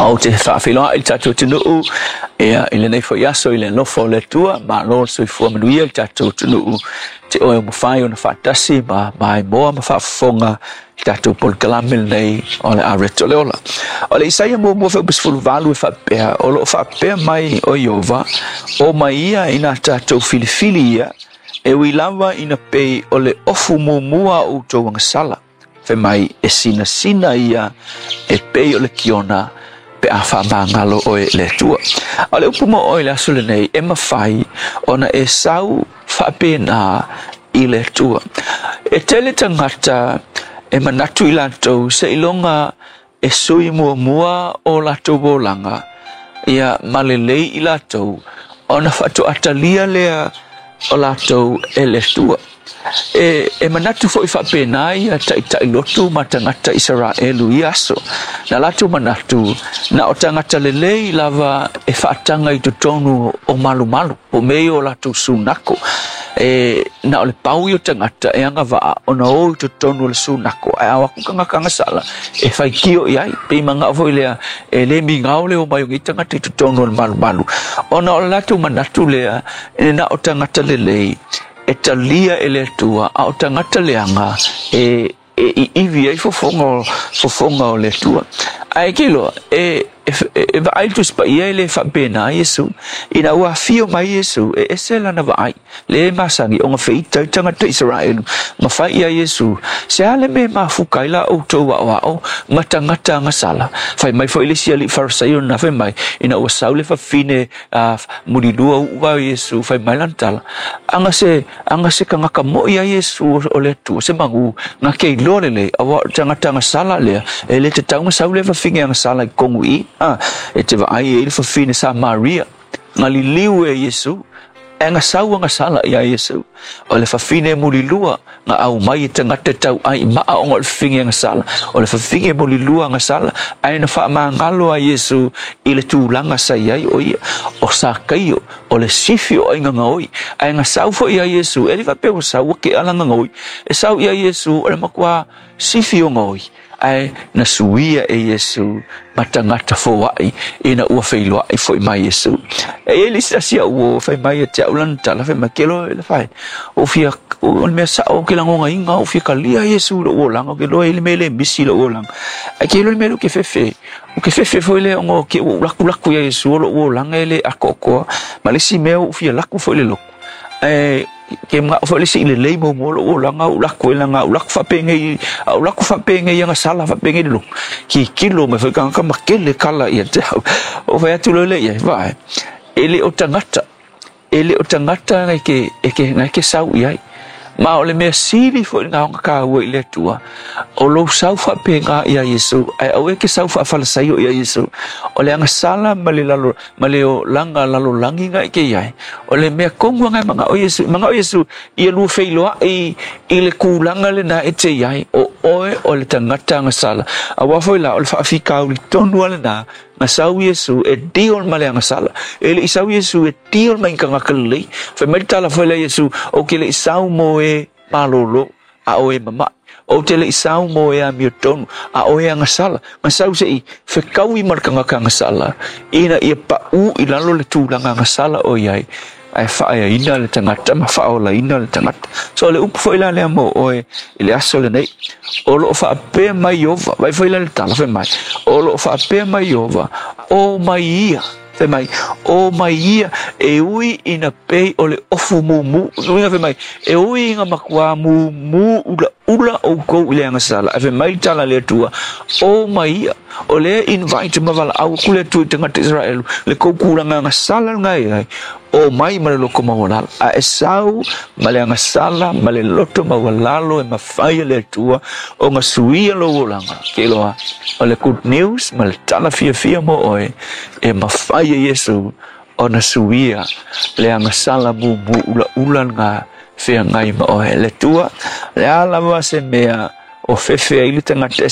Ou te faafeiloai i le tatou atunuu ia i lenei foi aso i le alofa o le Atua. Malo le soifua manuia i le tatou atunuu te oe ua mafai ona faatasi ma maimoa ma faafofoga i le tatou polokalame lenei o le Areto le Ola. O le Isaia muamua fuaiupu 18 e faapea, o lo o faapea mai o Ieova, o mai ia ina tatou filifili ia, e ui lava ina pei o le ofu muamua o outou agasala. Fai mai e sinasina ia e pei o le kiona pe a faamagalo oe e le Atua. A o le upu mo oe i le aso lenei, e mafai ona e sau faapena i le Atua. E tele tagata e manatu i latou seiloga e sui muamua o latou olaga ia ma lelei i latou ona faatoa talia lea o latou e le Atua. E manatu foi faapena ia taitai lotu ma tagata Isaraelu i aso. Na latou manatu, na o tagata lelei lava e faataga i totonu o malumalu, po o mea ia o latou sunako. E na o le pau ia o tagata e agavaa ona o i totonu o le sunako, ae a o atu tagata agasala e faitio i ai. Pei manao foi lea e le migao le omai o nei tagata i totonu o le malumalu, ona o le latou manatu lea e na o tagata lelei e talia e le Atua, a o tagata leaga e iivi ai fofoga o le Atua. Ae ke iloa, e vaai le Tusi Paia e le faapena Iesu. Ina ua afio mai Iesu, e ese lana vaai, le masani ona feita ai tagata Isaraelu, ma fai ia Iesu, se a le mea e mafuka ai la outou aoao ma tagata agasala. Fai mai foi le isi alii Farisaio na fai mai, ina ua sau le fafine mulilua uu a Iesu, fai mai lana tala, anga se tagata moi a Iesu o le Atua, se magu, nga ke iloa lelei, aua o le tagata agasala lea, e le tatau ona sau le fafine agasala i totonu i, e te vaai e i le fafine Samaria, nga liliu e Iesu, e nga sau agasala ia Iesu, o le fafine mulilua, nga au mai e tagata tau ai maa ona o le fafine agasala, o le fafine mulilua agasala, ae na faamagalo a Iesu i le tulaga sa i ai o ia, o Sakaio, o le sifi o aiga gaoi, ae nga sau foi ia Iesu, e le faapea ua sau ua ke ala gaoi, e sau ia Iesu o le matua sifi o gaoi, ae na suia e Iesu ma tagata foai ina ua feiloai foi mai Iesu. E i ai le isi asi au ua fai mai ia te au lana tala, fai mai, ke loa e le fai, o fia, o le mea sao ke lagoga inga, o fia kalia Iesu lou olaga, o ke loa e le mea le misi lou olaga. Ae ke loa le mea lea o ke fefe, o ke fefe foi lea ona o ke ua laku laku ia Iesu o lou olaga e le atoatoa, ma le isi mea ua fia laku foi le lotu. Ae ke manao foi le isi i lelei muamua lou olaga, ou laku ai laga, ou laku faapengei, ou laku faapengei agasala faapengei le lotu. Kikilo mai foi tagata ma kele kala ia te au. O fai atu loa lea i ai, vaai, e le o tagata, e le o tagata ngai ke, e ke, ngai ke sau i ai. Ma o le mea sili foi ngā ona kāua i le Atua, o lou sau faapena ia Iesu, ae aua e ke sau faafalasaio ia Iesu. O le agasala ma le lalo, ma le olaga lalolagi ngai ke iai, o le mea tonu ngai mangao Iesu, mangao Iesu ia lua feiloai i le kūlanga lena e te iai, o oe o le tagata agasala. Aua foi la, o le faafikauli tonu a lena, nga sau Iesu e deal ma le agasala. E le i sau Iesu e deal ma i tagata lelei. Fai mai le tala foi lea Iesu, o ke le i sau mo e malolo, a o e mama'i. O te le i sau mo e amio tonu, a o e agasala. Nga sau se i fekaui ma le tagata agasala, ina ia pa'u i lalo le tulaga agasala o iai, ae faaeaina le tagata ma faaolaina le tagata. So le upu foi la lea mo oe i le aso lenei, o loo faapea mai Ieova, vai foi la le tala fai mai, o loo faapea mai Ieova, o mai ia, fai mai, o mai ia, e ui ina pei o le ofu mumu, uiga fai mai, e ui ina matua mumu ula ula outou i le agasala. Ae fai mai le tala a le Atua, o mai ia, o lea invite ma valaau atu le Atua i tagata Israelu, le tou tulaga agasala lena e ai, o mai ma le loto maualalo. A e sau ma le agasala ma le loto maualalo e mafai e le Atua ona suia lou olaga. Ke iloa, o le good news ma le tala fiafia mo oe, e mafai e Iesu ona suia le agasala mumu ulaula lena feagai ma oe. Le Atua, le a lava se mea o fefe ai le tagata e